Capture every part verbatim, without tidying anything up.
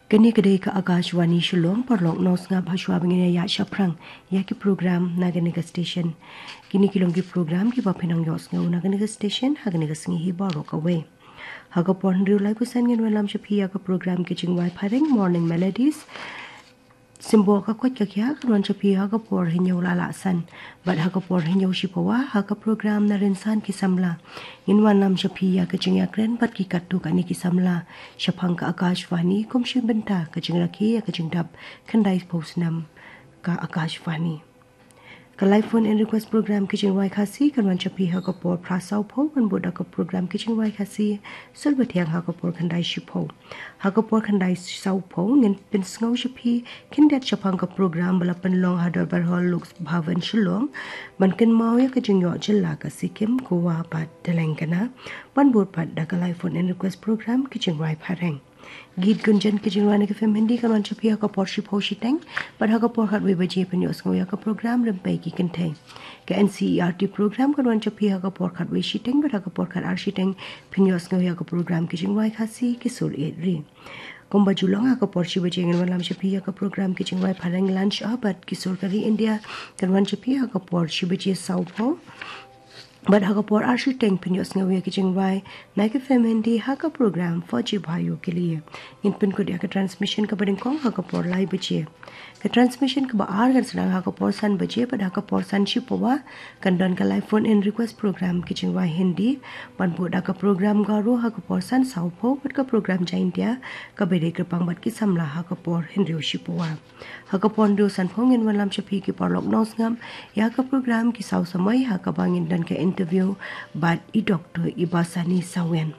Kane ka dei ka Akashvani Shillong. Paralok, nang sngap ha shuwa ba ngin ïa shaphrang ïa ki program na kane ka station. Kine ki long ki program kiba phin nang ïohsngew na kane ka station ha kane ka sngi hi baroh kawei. Ha ka por hynriew laiphew san ngin wanlam sha phi ïa ka program Ki Jingwai Phareng, Morning Melodies. Symboh ka koit ka khiah kan wan sha phi ha ka por hynñiew la lah san. Bad ha ka por hynñiew shiphew ha ka program Na Rynsan Ki Samla, ngin wanlam sha phi ïa ka jingïakren bad ki katto katne ki samla shaphang ka Akashvani kum shi bynta ka jingrakhe ïa ka jingdap khyndaiphew snem ka Akashvani. Ka live phone in request program Ki Jingwai Khasi kan wan sha phi ha ka por phra sawphew, kan bud da ka program Ki Jingwai Khasi Sur Bathiang ha ka por khyndai shiphew. Ha ka por khyndai sawphew ngin pynsngew sha phi khyndiat shaphang ka program ba la pynlong ha Dorbar Hall Lok Bhavan Shillong ban kynmaw ïa ka jingïoh jylla ka Sikkim, Goa bad Telangana, ban bud pat da ka live phone in request program Ki Jingwai Phareng. Geet Gunjan Ki Jingwai na ki film Hindi kan wan sha phi ha ka por shiphew shiteng, bad ha ka por khatwei baje phin ïohsngew ïa ka program Rympei Ki Kynthei. Ka N C E R T program kan wan sha phi ha ka por khatwei shiteng, bad ha ka por khatar shiteng phin ïohsngew ïa ka program Ki Jingwai Khasi Ki Sur Ïeit Ri. Kumba ju long, ha ka por shi baje ngin wanlam sha phi ïa ka program Ki Jingwai Phareng Lunch Hour bad Ki Sur Ka Ri India kan wan sha phi ha ka por shi baje sawphew. Bad ha ka por ar shiteng phin ïohsngew ïa ki jingwai na ki film Hindi ha ka program Fauji Bhaiyon Ke Liye. Ngin pynkut ïa ka transmission kaba nyngkong ha ka por lai baje. Ka transmission kaba ar kan sdang ha ka por san baje, bad ha ka por san shiphew kan don ka live phone in request program Ki Jingwai Hindi, ban bud da ka program Garo ha ka por san sawphew, bad ka program Jaintia kaba dei kyrpang bad ki samla ha ka por hynriew shiphew. Ha ka por hynriew sanphew ngin wanlam sha phi, ki paralok, nang sngap ïa ka program Ki Saw Samoi, ha kaba ngin don ka interview bad i Doctor Ibasani Sawian.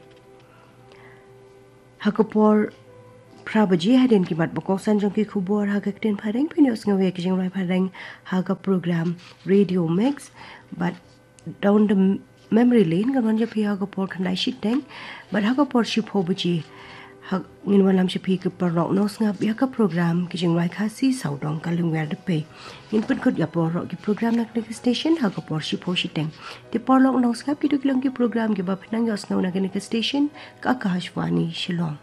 Ha ka por phra baje, hadien ki mat ba kongsan jong ki khubor ha ka ktien Phareng, phin ïohsngew ïa Ki Jingwai Phareng ha ka program Radio Mix, bad Down the Memory Lane kan wan sha phi ha ka por khyndai shiteng, bad ha ka por shiphew baje ngin wanlam sha phi, ki paralok, nang sngap ïa ka program Ki Jingwai Khasi Sawdong Ka Lyngwiar Dpei. Ngin pynkut ïa baroh ki program na kane ka station ha ka por shiphew shiteng. Te paralok, nang sngap, kito ki long ki program kiba phin nang ïohsngew na kane ka station, ka Akashvani Shillong.